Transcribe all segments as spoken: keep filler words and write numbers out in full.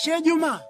Shejuma,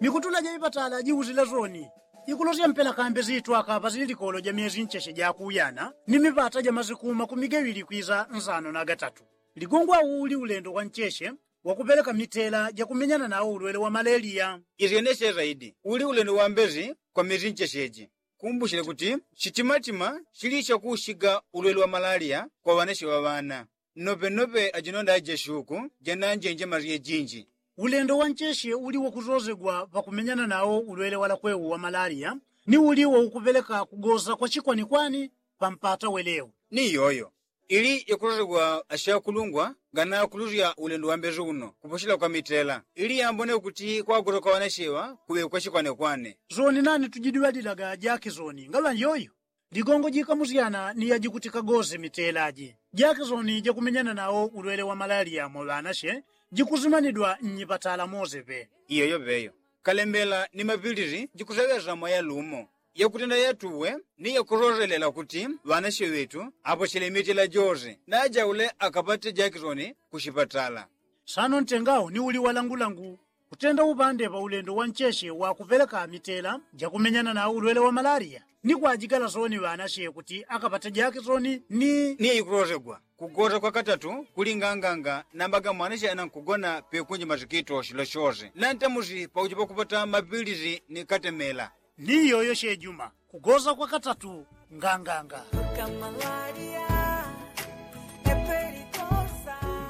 mikutula ja ipatala jiusila soni ikulosya mpela kambe sitwaka pasili likolo ja myesi ncheshe ja kuyana ni mipata ja masiku makumi gawili kwiza nsano na gatatu. Ligongwa uli ulendo wa ncheshe wa kupeleka mitela ja kumenyana nao ulwele wa maleliya. Isyenesye saidi uli ulendo wa mbesi kwa myesi ncheshe ji. Kumbushile kuti shitimatima shili shakushiga ulwele wa malaliya kwa ŵanashe ŵa ŵana. Nnope nnope ajinonda ajeshuku jananjenje masye jinji. Ulendo wa ncheshe uli wakusosegwa pakumenyana nao ulwele wa lakwewu wa malaliya ni uli waukupeleka kugosa kwa chikwanikwani pa mpata welewu. Ni iyoyo ili yakusosegwa ashakulungwa nganakulusya ulendo wa mbesi uno kuposhela kwa mitela ili yambone kuti kwagosa kwa ŵanashe ŵa kuŵe kwa chikwanekwane. Soni nani tujidwalilaga jakisoni ngaŵa iyoyo. Ligongo jikamusyana ni yajikuti kagose mitela ji jakisoni jakumenyana nao ulwele wa malaliya mwa ŵanashe jikusimanidwa nnyipatala mose pe. Iyoyo peyo kalembela ni mapilisi jikuseŵesa mwa yalumo yakutenda yatuwe ni yakusoselela kuti ŵanashe ŵetu aposhele mitela jose najaule akapate jakisoni ku shipatala. Sano ntengawo ni uli walangulangu kutenda upande pa ulendo wa ncheshe wa kupeleka mitela jakumenyana nao ulwele wa malaliya ni kwajigala soni ŵanashe kuti akapate jakisoni ni ni ikulosegwa kugosa kwa katatu kuli nganganga namba ga mwanashe anankugona pekunji masikito shilo shose nantamusi pakujipa kupata mapilisi ni katemela. Ni iyoyo shejuma kugosa kwa katatu nganganga.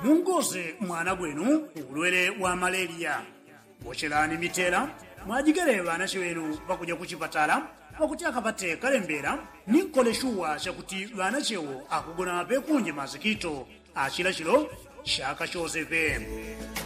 Mungose mwana gwenu ulwele wa maleliya. Bochelani mitela mwajigele ŵanashe ŵenu pakuja ku chipatala pakuti akapate kalembela ni nkole shuwa shakuti ŵanashe wo akugona pekunji masikito ashila shilo shaka shose pe.